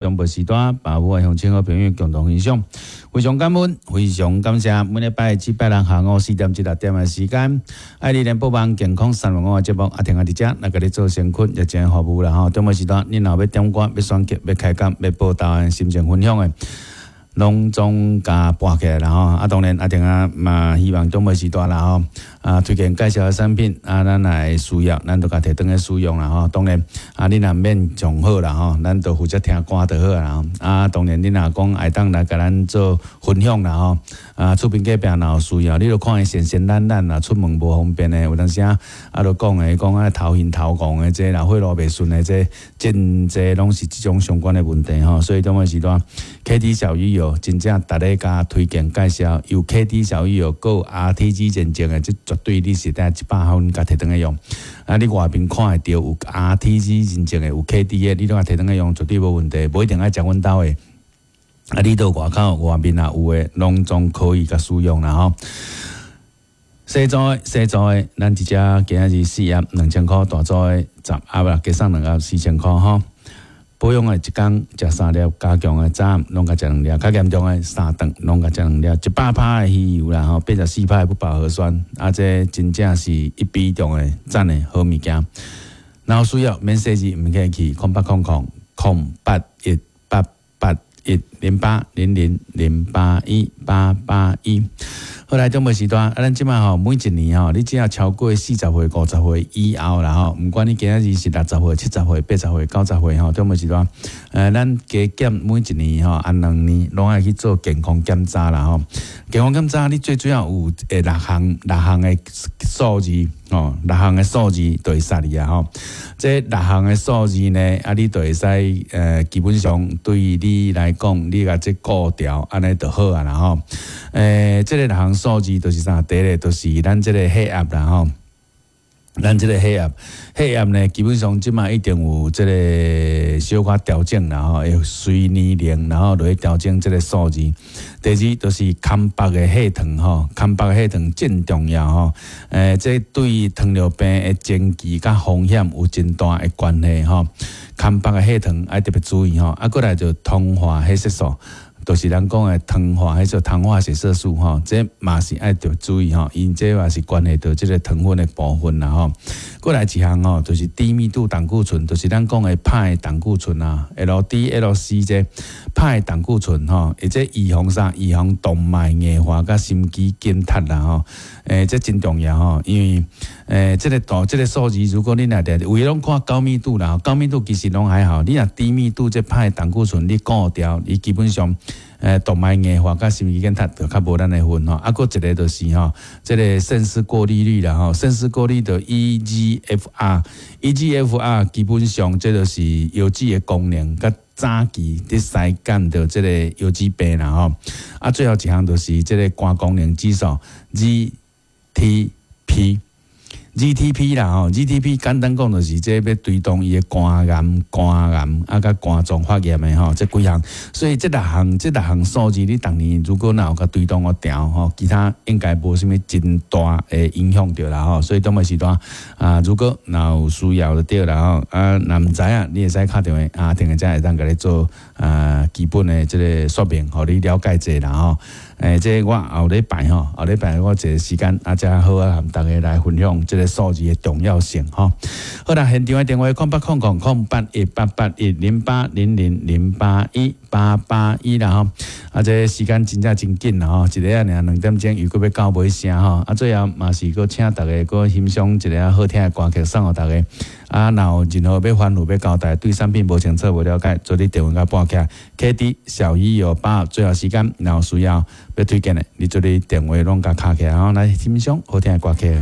中晡時段，把我的鄉親好朋友共同分享，非常感恩，非常感謝。每禮拜至拜六下午4點至6點的時間，愛你聯播網健康三六五的節目，阿婷仔佇遮來共你做先驅，熱情服務啦吼。中晡時段，你若欲點歌、欲選曲、欲開講、欲報道的心情分享的，攏總共撥起來啦吼。啊，當然阿婷仔嘛希望中晡時段啦吼，啊，推薦介紹的產品啊，咱來需要，咱就共提轉去使用啦吼。當然啊，你若免上好啦吼，咱就負責聽歌就好啦吼。啊，當然你若講會當來共咱做分享啦吼，啊，厝邊隔壁若有需要，你就看伊善善懶懶啦，出門無方便的，有當時啊，啊，就講的講啊頭暈頭怣的這啦，血路袂順的這，真濟攏是這種相關的問題吼。所以中晡時段，KD 小魚油真正逐日共推薦介紹，有 KD 小魚油閣有 RTG 認證的，這絕對你是得100分共提轉去用。啊，你外面看會著有 RTG 認證的，有 KD 的，你攏共提轉去用，絕對無問題，無一定愛食阮兜的。啊，你到外口外面若有的，攏總可以共使用啦吼。細組的，細組的，咱一隻今仔日四盒2000箍，大組的10盒啦，加送兩盒4000箍吼。保養的一工食三粒，加強的早暗攏共食兩粒，較嚴重的三頓攏共食兩粒，100%的魚油啦吼，84%的不飽和酸，啊，這真正是一比中的讚的好物件。若有需要免細緻，毋客氣，0800 008 1 8 8 1 0 8 0 0 0 8 1 8 8 1。好來，中晡時段，啊，咱這擺吼，每一年吼，你只要超過40歲、50歲以後啦吼，毋管你今仔日是60歲、70歲、80歲、90歲吼，中晡時段，咱加減每一年吼，按2年攏愛去做健康檢查啦吼。健康檢查，你最主要有六項六項的數字吼，六項的數字就會殺你啊吼。這六項的數字呢，啊，你就會使基本上對你來講，你共這顧牢，按呢就好啊啦吼。這个六項數字就是啥？第一个就是咱這个血壓啦吼。咱這个血壓，血壓呢，基本上這擺一定有這个小可調整啦吼，會隨年齡然後落去調整這个數字。第二就是康腹的血糖吼，康腹的血糖真重要吼。這對糖尿病的前期佮風險有真大的關係吼。康腹的血糖愛特別注意吼，啊，過來就糖化血色素。就是咱講的糖化，彼個糖化血色素吼，這嘛是愛著注意吼，因這嘛是關係到這个糖分的部分啦吼。過來一項吼，就是低密度膽固醇，就是咱講的歹膽固醇啊，LDL-C 這歹膽固醇吼，會這預防啥？預防動脈硬化佮心肌梗塞啦吼。這真重要吼，因為這个度這个數字，如果你若定有的攏看高密度啦，高密度其實攏還好，你若低密度這歹膽固醇你顧牢，伊基本上。動脈硬化佮心肌梗塞就較無咱的份吼。啊，閣一个就是吼，這个腎絲過濾率啦吼，腎絲過濾的 eGFR，eGFR 基本上這就是腰子的功能，佮早期佇篩檢著這个腰子病啦吼。啊，最後一項就是這个肝功能指數 GTP。GTP 啦吼，GTP 簡單講就是這欲追蹤伊的肝癌、肝癌啊，佮肝臟發炎的吼，這幾項。所以這六項、這六項數字，你逐年如果若有共追蹤予調吼，其他應該無啥物真大的影響著啦吼。所以中晡時段啊，如果若有需要就對啦吼，啊，若毋知影，你會使敲電話啊，電話才會當共你做啊基本的這个說明，予你了解者啦吼。這我後禮拜吼，後禮拜我一個時間啊，才好啊，和大家來分享這個數字的重要性吼。好啦，現場的電話0800 008 1 8 8 1 0 0 8 1 8 8 1啦吼。啊，這個時間真正真緊啦吼，一个仔爾2點鐘又閣欲到尾聲吼。啊，最後嘛是閣請大家閣欣賞一个好聽的歌曲送予大家。啊，若有任何欲反覆欲交代，對產品無清楚無了解，做你電話共撥起來。KD 小魚油八，最後時間若有需要欲推薦的，你做你電話攏共敲起來吼，來欣賞好聽的歌曲。